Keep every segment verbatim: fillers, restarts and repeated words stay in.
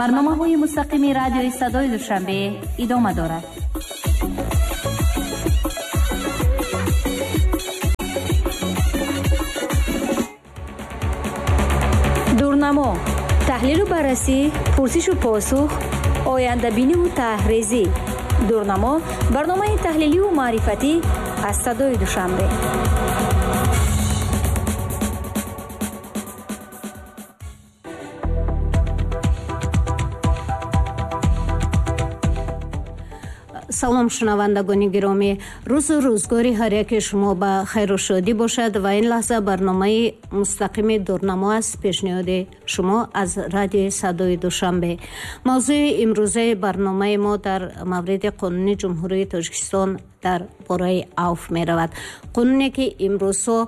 Барномаҳои мустақими радиои Садои Душанбе идома дорад. Дурнамо, таҳлилу баррасӣ, пурсишу посух, ояндабиниву таҳрезӣ. Дурнамо барномаи таҳлиливу маърифатӣ аз Садои Душанбе. Салом, шунавандагони гиромӣ. Рӯзу рӯзгори ҳар яке шумо ба хайру шодӣ бошад ва ин лаҳза барномаи мустақими Дурнамо аст, пешниҳоди шумо аз радиои Садои Душанбе. Мавзӯи имрӯзаи барномаи мо дар мавриди қонуни Ҷумҳурии Тоҷикистон дар бораи авф меравад. Қонуне ки имрӯзҳо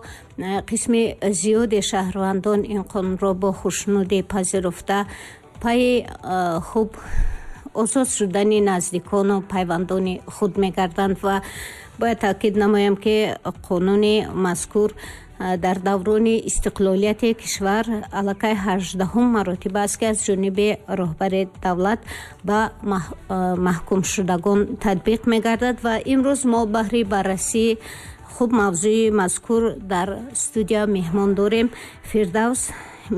қисми зиёди шаҳрвандон ин қонунро бо хушнудӣ пазируфта, пайи хуб озод шудани наздикону пайвандони худ мегарданд ва бояд таъкид намоям, ки қонуни мазкур дар даврони истиқлолияти кишвар аллакай ҳаждаҳум маротиба аст, ки аз ҷониби роҳбари давлат ба маҳкумшудагон татбиқ мегардад ва имрӯз мо баҳри баррасии хуб мавзӯи мазкур дар студия меҳмон дорем Фирдавс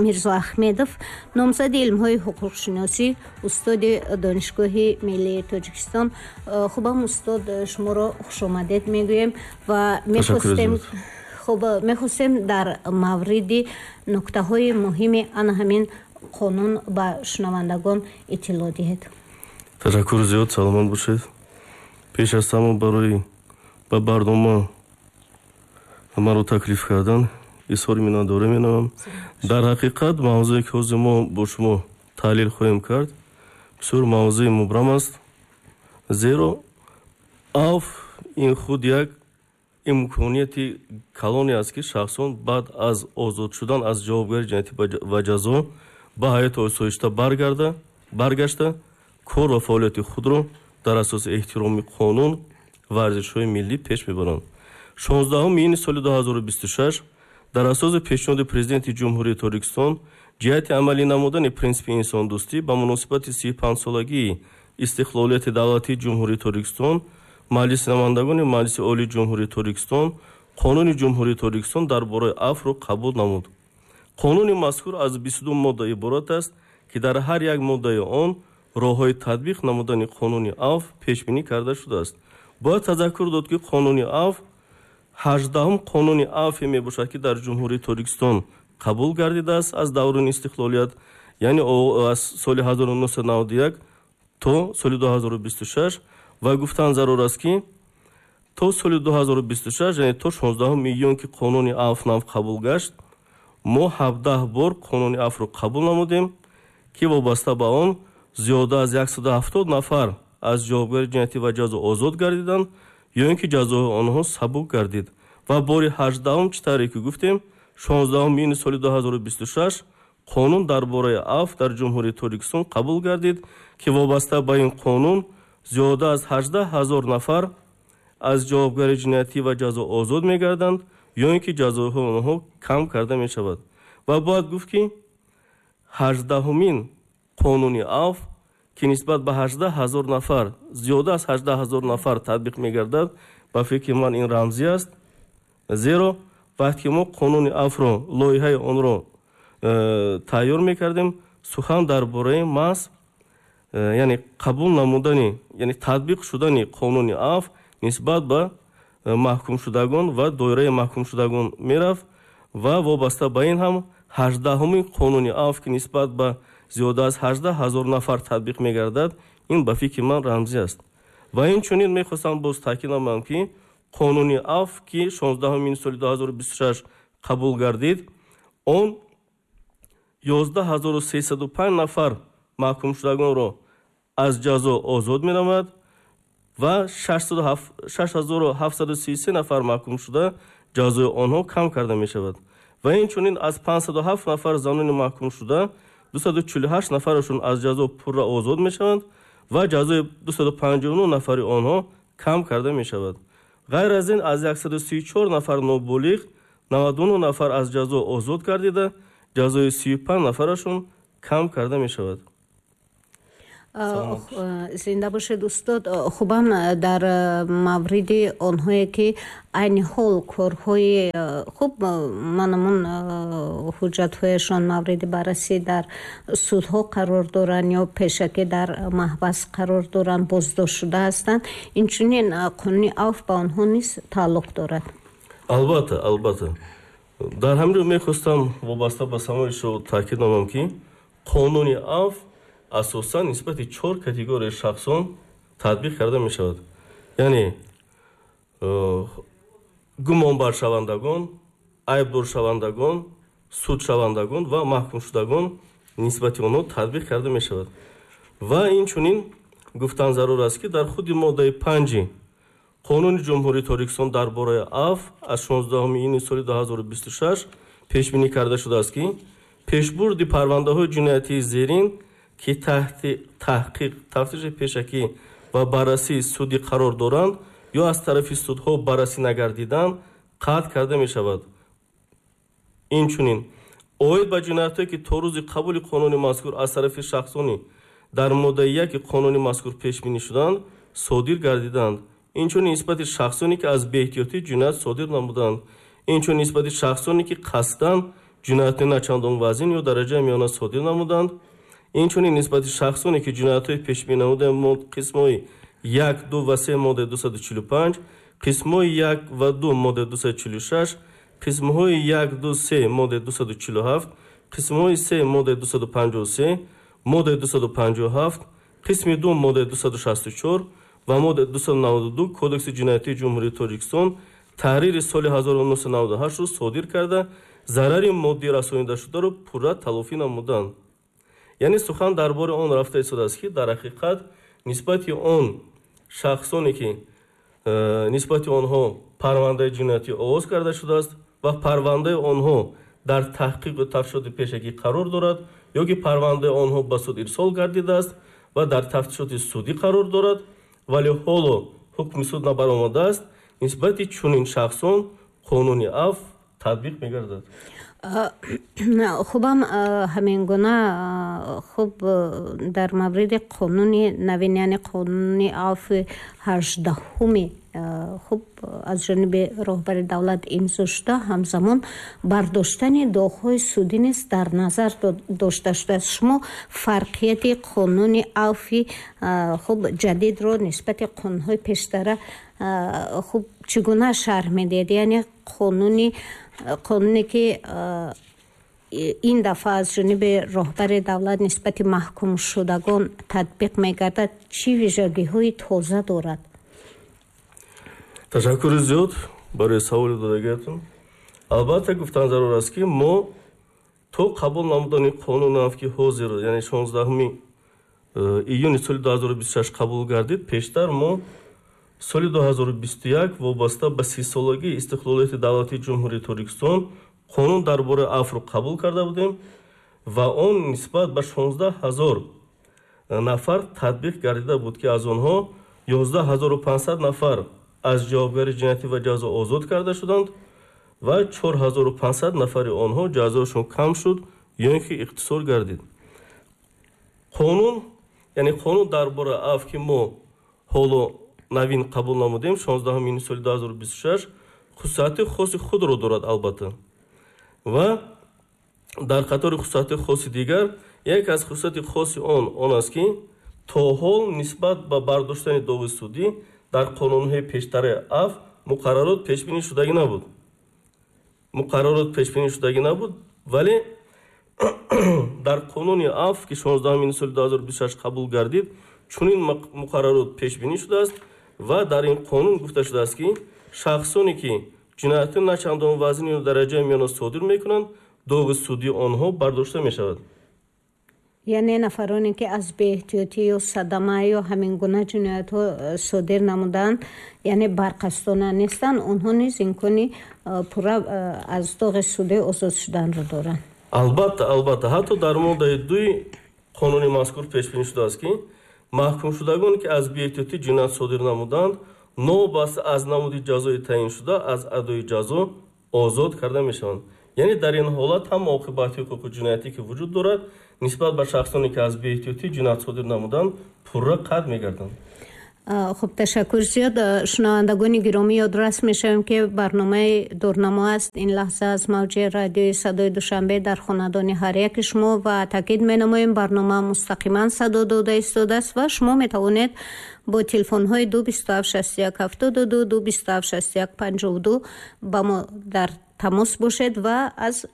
Мирзоахмедов, номзади илмҳои ҳуқуқшиносӣ, устоди Донишгоҳи миллии Тоҷикистон. Хубам, устод, шуморо хушомадед мегӯем ва мехостем хуб мехостем дар мавриди нуктаҳои муҳими ана ҳамин қонун ба шунавандагон иттилоъ диҳед. Ташаккур зиёд, саломат бошед. Пеш аз ҳама барои ба барнома маро таклиф кардан изҳори миннатдорӣ менамоям. Дар ҳақиқат мавзӯе ки ҳозир мо бо шумо таҳлил хоҳем кард, бисёр мавзӯи мубрам аст, зеро авф ин худ як имконияти калоне аст, ки шахсон баъд аз озод шудан аз ҷавобгарии ҷиноятӣ ва ҷазо ба ҳаёти осоишта баргарда баргашта кор ва фаъолияти худро дар асоси эҳтироми қонун ва арзишҳои миллӣ пеш мебаранд. Шонздаҳуми июни соли ду ҳазору бисту шаш дар асоси пешниҳоди Президенти Ҷумҳурии Тоҷикистон ҷиҳати амалӣ намудани принсипи инсондӯстӣ ба муносибати сию панҷсолагии истиқлолияти давлатии Ҷумҳурии Тоҷикистон Маҷлиси намояндагони Маҷлиси Олии Ҷумҳурии Тоҷикистон Қонуни Ҷумҳурии Тоҷикистон дар бораи афвро қабул намуд. Қонуни мазкур аз бисту ду модда иборат аст, ки дар ҳар як моддаи он роҳҳои татбиқ намудани қонуни авф пешбинӣ карда шудааст. Бояд тазаккур дод, ки қонуни авф ҳаждаҳум қонуни авфе мебошад, ки дар Ҷумҳурии Тоҷикистон қабул гардидааст аз даврони истиқлолият, яъне аз соли ҳазору нӯҳсаду наваду як то соли ду ҳазору бисту шаш. Ва гуфтан зарур аст, ки то соли ду ҳазору бисту шаш, яъне то шонздаҳуми июн, ки қонуни авф нав қабул гашт, мо ҳабдаҳ бор қонуни авфро қабул намудем, ки вобаста ба он зиёда аз яксаду ҳафтод нафар аз ҷавобгарии ҷиноятӣ ва ҷазо озод гардиданд ё ин ки ҷазои онҳо сабук гардид. Ва бори ҳаждаҳум, чӣ тавре ки гуфтем, шонздаҳуми июни соли ду ҳазору бисту шаш қонун дар бораи авф дар Ҷумҳурии Тоҷикистон қабул гардид, ки вобаста ба ин қонун зиёда аз ҳаждаҳ ҳазор нафар аз ҷавобгарии ҷиноятӣ ва ҷазо озод мегарданд ё ин ки ҷазоҳои онҳо кам карда мешавад. Ва бояд гуфт, ки ҳаждаҳумин қонуни авф, ки нисбат ба ҳаждаҳ ҳазор нафар, зиёда аз ҳаждаҳ ҳазор нафар татбиқ мегардад, ба фикри ман ин рамзӣ аст, зеро вақте ки мо қонуни авфро, лоиҳаи онро э, тайёр мекардем, сухан дар бораи маҳз э, яъне қабул намудани, яъне татбиқ шудани қонуни авф нисбат ба э, маҳкумшудагон ва доираи маҳкумшудагон мерафт. Ва вобаста ба ин ҳам ҳаждаҳумин қонуни авф, ки нисбат ба зиёда аз ҳаждаҳ ҳазор нафар татбиқ мегардад, ин ба фикри ман рамзӣ аст. Ва инчунин мехостам боз таъкид намоям, ки қонуни авф, ки шонздаҳуми июни соли ду ҳазору бисту шаш қабул гардид, он ёздаҳ ҳазору сесаду панҷ нафар маҳкумшудагонро аз ҷазо озод менамояд ва шаш ҳазору ҳафтсаду сию се нафар маҳкумшуда ҷазои онҳо кам карда мешавад. Ва инчунин аз панҷсаду ҳафт нафар занони маҳкумшуда дусаду чилу ҳашт нафарашон аз ҷазо пурра озод мешаванд ва ҷазои дусаду панҷоҳу нӯҳ нафари онҳо кам карда мешавад. Ғайр аз ин, аз яксаду сию чор нафар ноболиғ наваду нӯҳ нафар аз ҷазо озод гардида, ҷазои сию панҷ нафарашон кам карда мешавад. Зинда бошед, устод. Хубам, дар мавриди онҳое ки айни ҳол корҳои хуб манамун ҳуҷҷатҳояшон мавриди баррасӣ дар судҳо қарор доранд ё пешакӣ дар маҳбас қарор доранд, боздошт шуда ҳастанд, инчунин қонуни авф ба онҳо низ тааллуқ дорад. Албатта, албатта. Дар ҳамин ҷо мехостам вобаста ба саволи шумо таъкид намоям, ки қонуни авф асосан нисбати чор категорияи шахсон татбиқ карда мешавад. Яъне гумонбаршавандагон, айбдоршавандагон, судшавандагон ва маҳкумшудагон нисбати онҳо татбиқ карда мешавад. Ва инчунин гуфтан зарур аст, ки дар худи моддаи панҷи Қонуни Ҷумҳурии Тоҷикистон дар бораи авф аз шонздаҳуми июни соли ду ҳазору бисту шаш пешбинӣ карда шудааст, ки пешбурди парвандаҳои ҷиноятии зерин, ки таҳти таҳқиқ, тафтиши пешакӣ ва баррасии судӣ қарор доранд ё аз тарафи судҳо баррасӣ нагардиданд, қатъ карда мешавад. Инчунин оид ба ҷиноятҳое, ки то рӯзи қабули қонуни мазкур аз тарафи шахсони дар моддаи яки қонуни мазкур пешбинӣ шуданд, содир гардиданд. Инчунин нисбати шахсоне, ки аз беэҳтиётӣ ҷиноят содир намуданд. Инчунин нисбати шахсоне, ки қасдан ҷинояти начандон вазин ё дараҷаи миёна содир намуданд. Инчунин нисбати шахсоне, ки ҷиноятҳои пешбинӣ намудаи қисмҳои як, ду ва се моддаи дусаду чилу панҷ, қисмҳои як ва ду моддаи дусаду чилу шаш, қисмҳои як, ду, се моддаи дусаду чилу ҳафт, қисмҳои се моддаи дусаду панҷоҳу се, моддаи дусаду панҷоҳу ҳафт, қисми ду моддаи дусаду шасту чор ва моддаи дусаду наваду ду Кодекси ҷиноятии Ҷумҳурии Тоҷикистон таҳрири соли ҳазору нӯҳсаду наваду ҳаштро содир карда, зарари моддӣ расонидашударо пурра талофӣ намуданд. Яъне сухан дар бораи он рафта истодааст, ки дар ҳақиқат нисбати он шахсоне, ки нисбати онҳо парвандаи ҷиноятӣ оғоз карда шудааст ва парвандаи онҳо дар таҳқиқу тафтишоти пешакӣ қарор дорад ё ки парвандаи онҳо ба суд ирсол гардидааст ва дар тафтишоти судӣ қарор дорад, вале ҳоло ҳукми суд набаромадааст, нисбати чунин шахсон қонуни авф татбиқ мегардад. Хубам, ҳамин гуна хуб дар мавриди қонуни навин, яъне қонуни авфи ҳаждаҳуми хуб аз ҷониби роҳбари давлат имзо шуда, ҳамзамон бардоштани доғҳои судӣ низ дар назар дошта шудааст. Шумо фарқияти қонуни авфи хуб ҷадидро нисбати қонунҳои пештара хуб чӣ гуна шарҳ медиҳед? Яъне қонуни қонуне ки ин дафъа аз ҷониби роҳбари давлат нисбати маҳкумшудагон татбиқ мегардад, чӣ вижагиҳои тоза дорад? Ташаккури зиёд барои саволи додагиятон. Албатта, гуфтан зарур аст, ки мо то қабул намудани қонуни авф, ки ҳозир, яъне шонздаҳуми июни соли ду ҳазору бисту шаш қабул гардид, пештар мо соли ду ҳазору бисту як вобаста ба сисолагии истиқлолияти давлатии Ҷумҳурии Тоҷикистон қонун дар бораи авфро қабул карда будем ва он нисбат ба шонздаҳ ҳазор нафар татбиқ гардида буд, ки аз онҳо ёздаҳ ҳазору панҷсад нафар аз ҷавобгарии ҷиноятӣ ва ҷазо озод карда шуданд ва чор ҳазору панҷсад нафари онҳо ҷазоашон кам шуд ё ин ки иқтисор гардид. Қонун, яъне қонун дар бораи авф, ки мо ҳоло навин қабул намудем шонздаҳуми июни соли ду ҳазору бисту шаш, хусусияти хоси худро дорад албатта. Ва дар қатори хусусияти хоси дигар, яке аз хусусияти хоси он он аст, ки то ҳол нисбат ба бардоштани доғи судӣ дар қонунҳои пештараи авф муқаррарот пешбинӣ шудагӣ набуд. Муқаррарот пешбинӣ шудагӣ набуд, вале дар қонуни авф, ки шонздаҳуми июни соли ду ҳазору бисту шаш қабул гардид, чунин муқаррарот пешбинӣ шудааст ва дар ин қонун гуфта шудааст, ки шахсоне, ки ҷинояти начандон вазин ё дараҷаи миёна содир мекунанд, доғи судии онҳо бардошта мешавад. Яъне нафароне, ки аз беэҳтиётӣ ё садама ё ҳамин гуна ҷиноятҳо содир намуданд, яъне барқасдона нестанд, онҳо низ имкони пурра аз доғи судӣ озод шуданро доранд. Албатта, албатта, ҳатто дар моддаи дуи қонуни мазкур пешбинӣ шудааст, ки маҳкумшудагоне, ки аз беэҳтиётӣ ҷиноят содир намуданд, новобаста аз намуди ҷазои таъиншуда аз адои ҷазо озод карда мешаванд. Яъне дар ин ҳолат ҳам оқибати ҳуқуқи ҷиноятӣ, ки вуҷуд дорад, нисбат ба шахсоне ки аз беэҳтиётӣ ҷиноят содир намуданд, пурра қатъ мегарданд. Хуб, ташаккур зиёд. Шунавандагони гиромӣ, ёдрас мешавем, ки барномаи Дурнамо аст ин лаҳза аз мавҷи радиои Садои Душанбе дар хонадони ҳар яки шумо ва таъкид менамоем, барнома мустақиман садо дода истодааст ва шумо метавонед бо телефонҳои ду бисту ҳафт шасту як ҳафтоду ду, ду бисту ҳафт шасту як панҷоҳу ду ба мо дар тамос бошед ва аз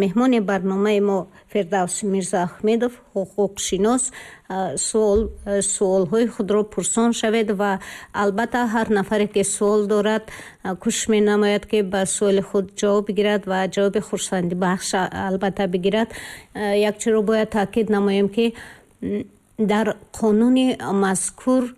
меҳмони барномаи мо Фирдавс Мирзоахмедов, ҳуқуқшинос, суолҳои худро пурсон шавед ва албатта ҳар нафаре ки суол дорад, кӯшиш менамояд, ки ба суоли худ ҷавоб бигирад ва ҷавоби хурсандибахш албатта бигирад. Як чиро бояд таъкид намоем, ки дар қонуни мазкур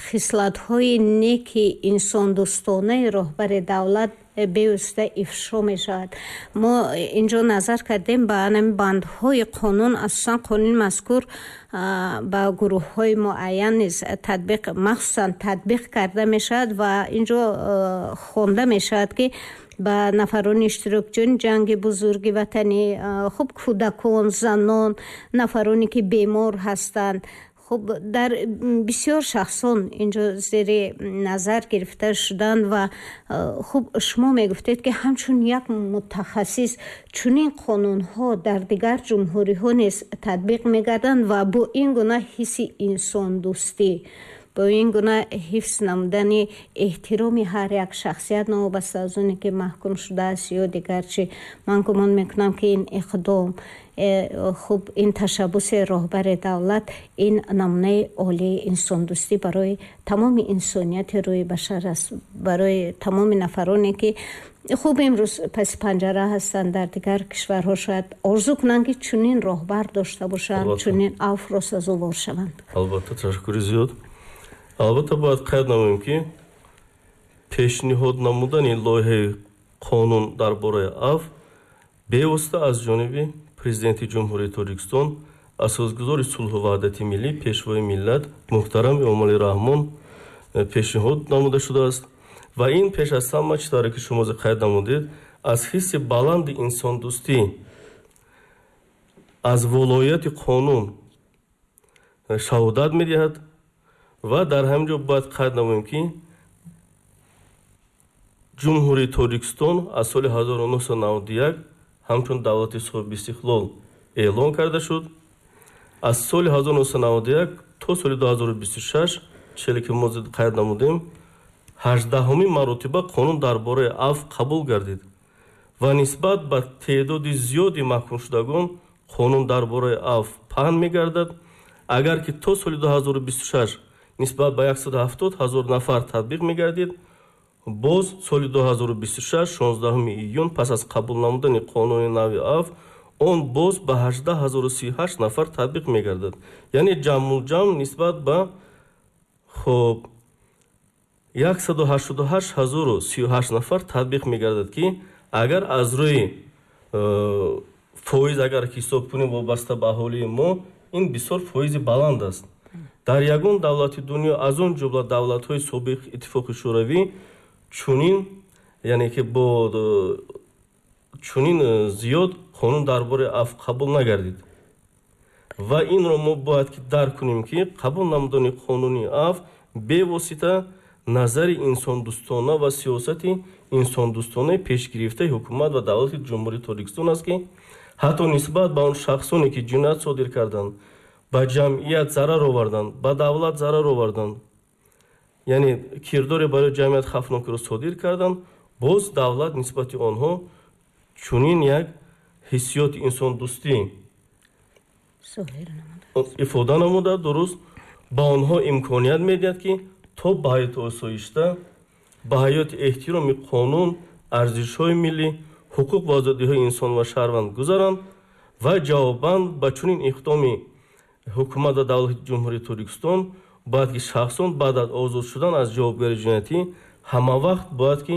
хислатҳои неки инсондӯстонаи роҳбари давлат бевосита ифшо мешавад. Мо инҷо назар кардем ба ҳамин бандҳои қонун. Асосан қонуни мазкур ба гурӯҳҳои муайян низ татбиқ, махсусан татбиқ карда мешавад ва инҷо хонда мешавад, ки ба нафарони иштирокчиёни ҷанги бузурги ватанӣ, хуб, кӯдакон, занон, нафароне ки бемор ҳастанд, хуб, дар бисёр шахсон инҷо зери назар гирифта шуданд. Ва хуб, шумо мегуфтед, ки ҳамчун як мутахассис чунин қонунҳо дар дигар ҷумҳуриҳо низ татбиқ мегарданд ва бо ин гуна ҳисси инсондӯстӣ, бо ин гуна ҳифз намудани эҳтироми ҳар як шахсият, новобаста аз оне ки маҳкум шудааст ё дигар чӣ, ман гумон мекунам, ки ин иқдом, э, хуб, ин ташаббуси роҳбари давлат, ин намунаи олии инсондӯстӣ барои тамоми инсонияти рӯи башар аст, барои тамоми нафароне ки, хуб, имрӯз паси панҷара ҳастанд дар дигар кишварҳо, шояд орзу кунанд, ки чунин роҳбар дошта бошанд, чунин афвро сазовор шаванд. Албатта, ташаккури зиёд. Албатта, бояд қайд намоем, ки пешниҳод намудани лоиҳаи қонун дар бораи афв бевосита аз ҷониби Президенти Ҷумҳурии Тоҷикистон, асосгузори сулҳу ваҳдати миллӣ, Пешвои миллат муҳтарам Эмомалӣ Раҳмон э, пешниҳод намуда шудааст ва ин пеш аз ҳама, чӣ тавре ки шумо қайд намудед, аз ҳисси баланди инсондӯстӣ, аз волоияти қонун э, шаҳодат медиҳад. Ва дар ҳамин ҷо бояд қайд намоем, ки Ҷумҳурии Тоҷикистон аз соли ҳазору нӯҳсаду наваду як ҳамчун давлати соҳибистиқлол эълон карда шуд. Аз соли ҳазору нӯҳсаду наваду як то соли ду ҳазору бисту шаш, челе ки мо қайд намудем, ҳаждаҳумин маротиба қонун дар бораи афв қабул гардид ва нисбат ба теъдоди зиёди маҳкумшудагон қонун дар бораи афв паҳн мегардад. Агар ки то соли ду ҳазору бисту шаш нисбат ба яксаду ҳафтод ҳазор нафар татбиқ мегардид, боз соли ду ҳазору бисту шаш шонздаҳуми июн, пас аз қабул намудани қонуни нави афв, он боз ба ҳаждаҳ ҳазору сию ҳашт нафар татбиқ мегардад. Яъне ҷамъулҷамъ нисбат ба, хуб, яксаду ҳаштоду ҳашт ҳазору сию ҳашт нафар татбиқ мегардад, ки агар аз рӯи э, фоиз агар ҳисоб кунем, вобаста ба аҳолии мо, ин бисёр фоизи баланд аст. Дар ягон давлати дунё, аз он ҷумла давлатҳои собиқ Иттифоқи Шӯравӣ, чунин, яъне ки бо э, чунин э, зиёд қонун дар бораи афв қабул нагардид. Ва инро мо бояд ки дарк кунем, ки қабул намудани қонуни афв бевосита назари инсондӯстона ва сиёсати инсондӯстонаи пешгирифтаи ҳукумат ва давлати Ҷумҳурии Тоҷикистон аст, ки ҳатто нисбат ба он шахсоне ки ҷиноят содир карданд, ба ҷамъият зарар оварданд, ба давлат зарар оварданд, яъне кирдоре барои ҷамъият хавфнокиро содир карданд, боз давлат нисбати онҳо чунин як ҳиссиёти инсондӯстӣ ифода намуда, дуруст, ба онҳо имконият медиҳад, ки то ба ҳаёти осоишта, ба ҳаёти эҳтироми қонун, арзишҳои миллӣ, ҳуқуқ ва озодиҳои инсон ва шаҳрванд гузаранд. Ва ҷавобан ба чунин иқдоми ҳукумат ва давлати Ҷумҳурии Тоҷикистон бояд ки шахсон баъд аз озод шудан аз ҷавобгарии ҷиноятӣ ҳамавақт бояд ки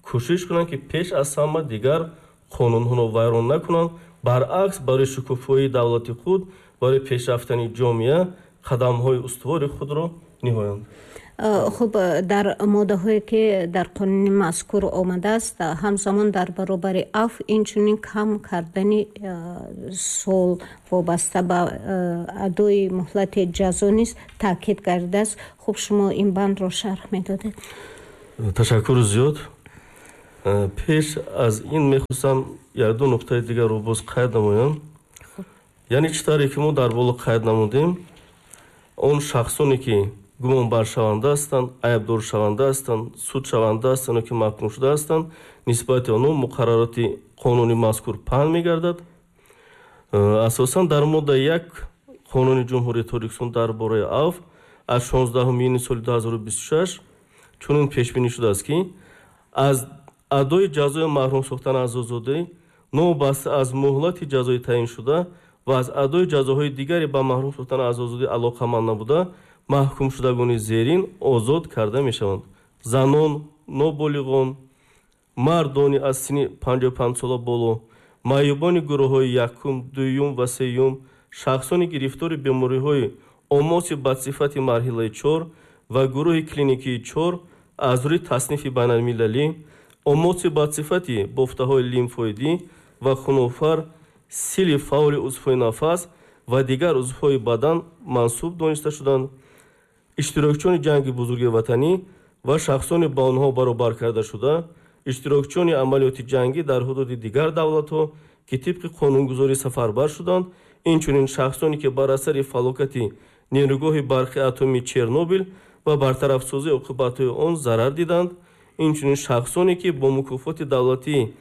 кӯшиш кунанд, ки пеш аз ҳама дигар қонунҳоро вайрон накунанд, баръакс, барои шукуфоии давлати худ, барои пешрафтани ҷомеа қадамҳои устувори худро ниҳоянд. Хуб, дар моддаҳое ки дар қонуни мазкур омадааст, ҳамзамон дар баробари афв инчунин кам кардани сол вобаста ба адои муҳлати ҷазо низ таъкид гардидааст. Хуб, шумо ин бандро шарҳ медодед. Ташаккури зиёд. Пеш аз ин мехостам якду нуқтаи дигарро боз қайд намоям. Яъне чӣ тавре ки мо дар боло қайд намудем, он шахсоне ки гумонбаршаванда ҳастанд, айбдоршаванда ҳастанд, судшаванда ҳастанд ё ки маҳкум шуда ҳастанд, нисбати онҳо муқаррароти қонуни мазкур паҳн мегардад. Асосан дар моддаи як Қонуни Ҷумҳурии Тоҷикистон дар бораи афв аз шонздаҳуми июни соли ду ҳазору бисту шаш чунин пешбинӣ шудааст, ки аз адои ҷазои маҳрум сохтан аз озодӣ новобаста аз муҳлати ҷазои таъиншуда ва аз адои ҷазоҳои дигаре ба маҳрум сохтан аз озодӣ алоқаманд набуда, маҳкумшудагони зерин озод карда мешаванд: занон, ноболиғон, мардони аз синни панҷоҳу панҷ сола боло, маъюбони гурӯҳҳои якум, дуюм ва сеюм, шахсони гирифтори бемориҳои омоси бадсифати марҳилаи чор ва гурӯҳи клиникии чор аз рӯи таснифи байналмилалӣ, омоси бадсифати бофтаҳои лимфоидӣ ва хунофар, сили фаъоли узвҳои нафас ва дигар узвҳои бадан мансуб дониста шуданд, иштирокчиёни ҷанги бузурги ватанӣ ва шахсони ба онҳо баробар карда шуда, иштирокчиёни амалиёти ҷангӣ дар ҳудуди дигар давлатҳо, ки тибқи қонунгузорӣ сафарбар шуданд, инчунин шахсоне ки бар асари фалокати нерӯгоҳи барқи атомии Чернобил ва бартарафсозии оқибатҳои он зарар диданд, инчунин шахсоне ки бо мукофоти давлатии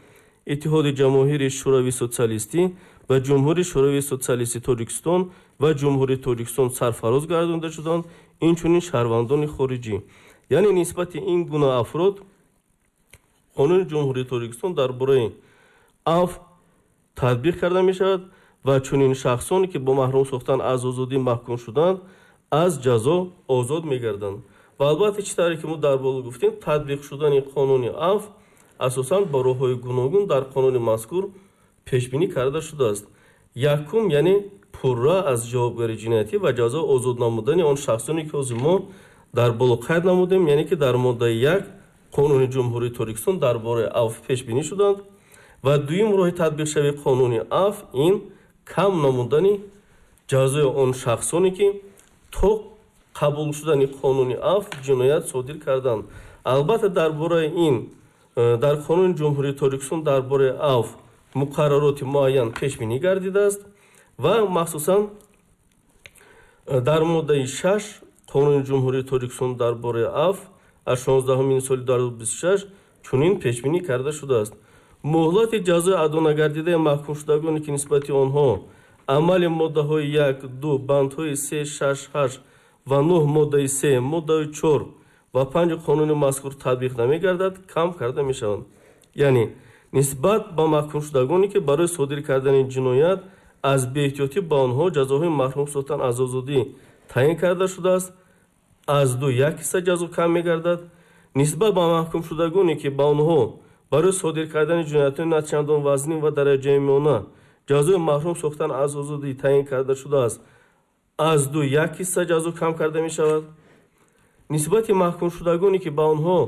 Иттиҳоди Ҷамоҳири Шӯравии Социалистӣ ва Ҷумҳурии Шӯравии Социалистии Тоҷикистон ва Ҷумҳурии Тоҷикистон сарфароз гардонида шуданд, инчунин шаҳрвандони хориҷӣ. Яъне нисбати ин гуна афрод Қонуни Ҷумҳурии Тоҷикистон дар бораи афв татбиқ карда мешавад ва чунин шахсоне ки бо маҳрум сохтан аз озодӣ маҳкум шуданд, аз ҷазо озод мегарданд. Ва албатта чӣ тавре ки мо дар боло гуфтем, татбиқ шудани қонуни афв асосан ба роҳҳои гуногун дар қонуни мазкур пешбинӣ карда шудааст. Якум, яъне пурра аз ҷавобгарии ҷиноятӣ ва ҷазо озод намудани он шахсоне ки ҳозир мо дар боло қайд намудем, яъне ки дар моддаи як Қонуни Ҷумҳурии Тоҷикистон дар бораи афв пешбинӣ шуданд. Ва дуюм роҳи татбиқшавии қонуни афв ин кам намудани ҷазои он шахсоне ки то қабул шудани қонуни афв ҷиноят содир карданд. Албатта дар бораи ин дар Қонуни Ҷумҳурии Тоҷикистон дар бораи афв муқаррароти муайян пешбинӣ гардидааст ва махсусан дар моддаи шаш Қонуни Ҷумҳурии Тоҷикистон дар бораи афв аз шонздаҳуми июни соли ду ҳазору бисту шаш чунин пешбинӣ карда шудааст: муҳлати ҷазои адо нагардидаи маҳкумшудагоне ки нисбати онҳо амали моддаҳои як, ду, бандҳои се, шаш, ҳашт ва нӯҳ моддаи се, моддаи чор ва панҷ қонуни мазкур татбиқ намегардад, кам карда мешаванд. Яъне нисбат ба маҳкумшудагоне ки барои содир кардани ҷиноят аз беэҳтиётӣ ба онҳо ҷазоҳои маҳрум сохтан аз озодӣ таъин карда шудааст, аз ду як ҳисса ҷазо кам мегардад. Нисбат ба маҳкумшудагоне ки ба онҳо барои содир кардани ҷиноятҳои на чандон вазнин ва дараҷаи миёна ҷазои маҳрум сохтан аз озодӣ таъин карда шудааст, аз ду як ҳисса ҷазо кам карда мешавад. Нисбати маҳкумшудагоне ки ба онҳо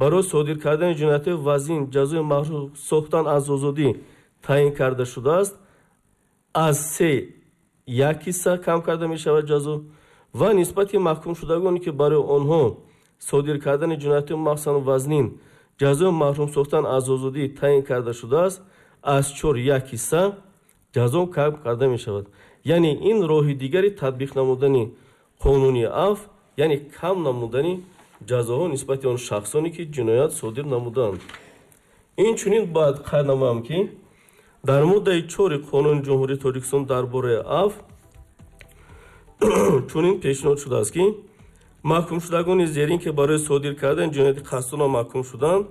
барои содир кардани ҷиноятҳои вазнин ҷазои маҳрум сохтан аз озодӣ таъин карда шудааст, аз се як ҳисса кам карда мешавад ҷазо. Ва нисбати маҳкумшудагоне ки барои онҳо содир кардани ҷиноятҳои махсусан вазнин ҷазои маҳрум сохтан аз озодӣ таъин карда шудааст, аз чор як ҳисса ҷазо кам карда мешавад. Яъне ин роҳи дигари татбиқ намудани қонуни афв, яъне кам намудани ҷазоҳо нисбати он шахсоне ки ҷиноят содир намуданд. Инчунин бояд қайд намоям ки дар моддаи чори Қонуни Ҷумҳурии Тоҷикистон дар бораи афв чунин пешниҳод шудааст ки маҳкумшудагони зерин ки барои содир кардани ҷинояти қасдона маҳкум шуданд,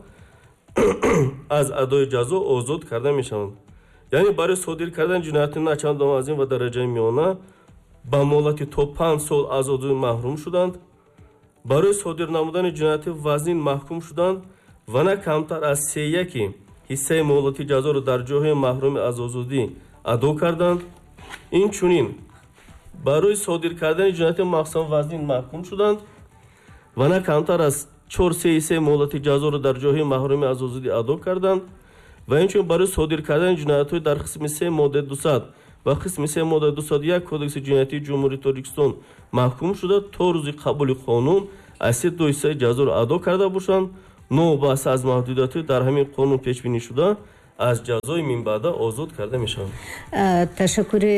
аз адои ҷазо озод карда мешаванд. Яъне барои содир кардани ҷинояти на чандон вазнин ва дараҷаи миёна ба муҳлати то панҷ сол аз озодӣ маҳрум шуданд, барои содир намудани ҷинояти вазнин маҳкум шуданд ва на камтар аз се яки ҳиссаи муҳлати ҷазоро дар ҷойҳои маҳрумӣ аз озодӣ адо карданд. Инчунин барои содир кардани ҷинояти махсусан вазнин маҳкум шуданд ва на камтар аз чор сеи се муҳлати ҷазоро дар ҷойҳои маҳрумӣ аз озодӣ адо карданд ва инчунин барои содир кардани ҷиноятҳои дар қисми се моддаи дусад ва қисми се моддаи дусаду як Кодекси ҷиноятии Ҷумҳурии Тоҷикистон маҳкум шуда, то рӯзи қабули қонун аз се ду ҳиссаи ҷазоро адо карда бошанд, новобаста аз маҳдудиятҳои дар ҳамин қонун пешбинӣ шуда, аз ҷазои минбаъда озод карда мешаванд. Ташаккури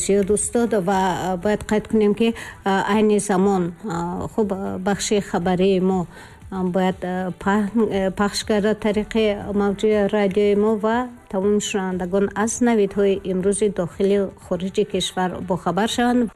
зиёд, устод. Ва бояд қайд кунем, ки айни замон хуб бахши хабарии мо бояд пахш гардад тариқи мавҷи радиои мо ва тамоми шунавандагон аз навидҳои имрӯзи дохили хориҷи кишвар бохабар шаванд.